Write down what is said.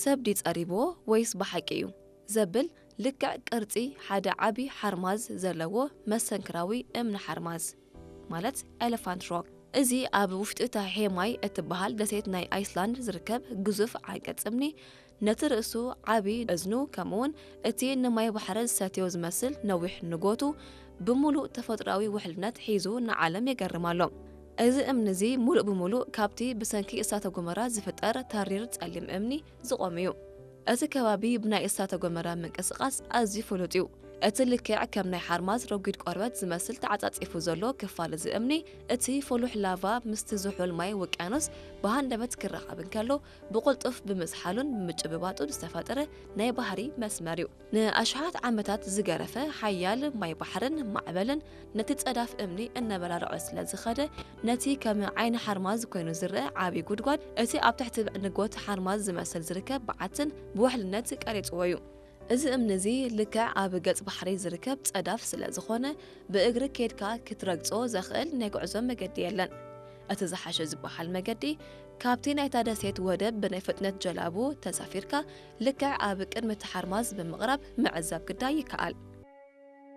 ሰብ ድዩ ጸሪብዎ ወይስ ብሓቂ እዩ ዘብል ልክዕ ቅርጺ ሓደ ዓቢ ሓርማዝ ዘለዎ መሰንክራዊ እምኒ ሓርማዝ፣ ማለት ኤለፋንት ሮክ። እዚ ኣብ ውሽጢ እታ ሄማይ እትበሃል ደሴት ናይ ኣይስላንድ ዝርከብ ግዙፍ ዓንቀጽ እምኒ፣ ነቲ ርእሱ ዓቢ እዝኑ፣ ከምኡውን እቲ ንማይ ባሕሪ ዝሰትዮ ዝመስል ነዊሕ ንጎቱ፣ ብምሉእ ተፈጥሮኣዊ ውሕልነት ሒዙ ንዓለም የገርም ኣሎ። እዚ እምኒ እዚ ምሉእ ብምሉእ ካብቲ ብሰንኪ እሳተ ጎመራ ዝፍጠር ተሪር ጸሊም እምኒ ዝቖም እዩ። እቲ ከባቢ ብናይ እሳተ ጎመራ ምንቅስቓስ ኣዝዩ ፍሉጥ እዩ። እቲ ልክዕ ከም ናይ ሓርማዝ ረጒድ ቆርበት ዝመስል ተዓጻጺፉ ዘሎ ክፋል እዚ እምኒ፣ እቲ ፍሉሕ ላቫ ምስቲ ዝሑል ማይ ውቅያኖስ ብሃንደበት ክራኸብ እንከሎ፣ ብቕልጡፍ ብምዝሓሉን ብምጭብባጡን ዝተፈጠረ ናይ ባህሪ መስመር እዩ። ንኣሽሓት ዓመታት ዝገረፈ ሓያል ማይ ባሕርን ማዕበልን ነቲ ጸዳፍ እምኒ እናበላልዖ ስለ ዝኸደ፣ ነቲ ከም ዓይኒ ሓርማዝ ኮይኑ ዝረአ ዓቢ ጉድጓድ፣ እቲ ኣብ ትሕቲ ንጎት ሓርማዝ ዝመስል ዝርከብ በዓትን ብውሕልነት ቀሪጽዎ እዩ። እዚ እምኒ እዚ ልክዕ ኣብ ገጽ ባሕሪ ዝርከብ ጸዳፍ ስለ ዝኾነ፣ ብእግሪ ኬድካ ክትረግጾ ዘኽእል ናይ ጉዕዞ መገዲ የለን። እቲ ዝሓሸ ዝበሃል መገዲ፣ ካብቲ ናይታ ደሴት ወደብ ብናይ ፍጥነት ጀላቡ ተሳፊርካ ልክዕ ኣብ ቅድሚ እቲ ሓርማዝ ብምቕራብ ምዕዛብ ግዳ ይከኣል።